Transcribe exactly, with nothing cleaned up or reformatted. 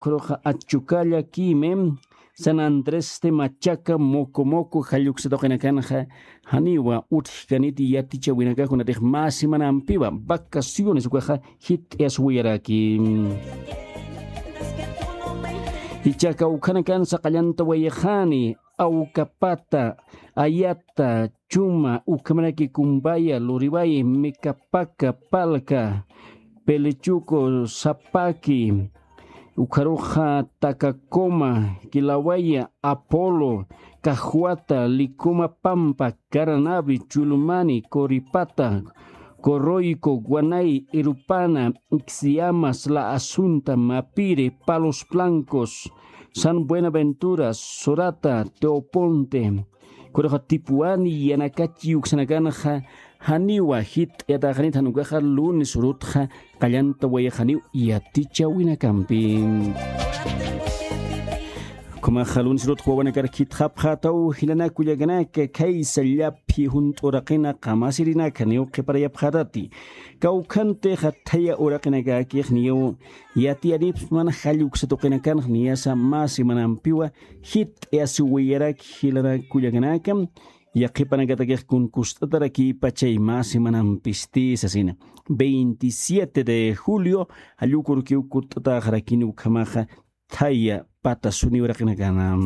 Khuruxa achukalla kime, San Andrés de Machaca, Moco Moco, jalluksa tuqinakanxa, janiwa utjkaniti yatichawinakakunatix mä semanampiwa, vacaciones ukaxa jit'iyaswayaraki. Ichaka ukhanakansa qallantawayxani, Awkapata, Ayata, Chuma, ukhamaraki Kumbaya, Luriway, Mekapaka, Palka, Pelechuco, Sapaki, ukharuxa Takakoma, Kilawaya, Apolo, Cajuata, Licoma Pampa, Caranavi, Chulumani, Coripata, Coroico, Guanay, Irupana, Ixiamas, La Asunta, Mapire, Palos Blancos, San Buenaventura, Sorata, Teoponte, khuruxa Tipuani, Yanakachi uksanakanxa, janiwa jit'ayataxanit, jan ukaxa lunes urutxa qallantawayxaniw yatichawinakampi. Ukhamaxa lunes urutxa wawanakar khitxapxätaw jilanaka kullakanaka, khaysa llaphi junt'u uraqina qamasirinaka niw qhiparayapxätati. Kawkhantixa thaya uraqinakakix niw yatiyanipsman jalluksa tuqinakanx niyasa mä semanampiwa jit'ayasiwayaraki jilanaka kullakanaka, yaqhipanakatakix kun kust'atarakïpachay mä semanampisti sasina. Veintisiete de julio, jallukurukiw kust'ataxarakini ukhamaxa thaya pata suni uraqinakana.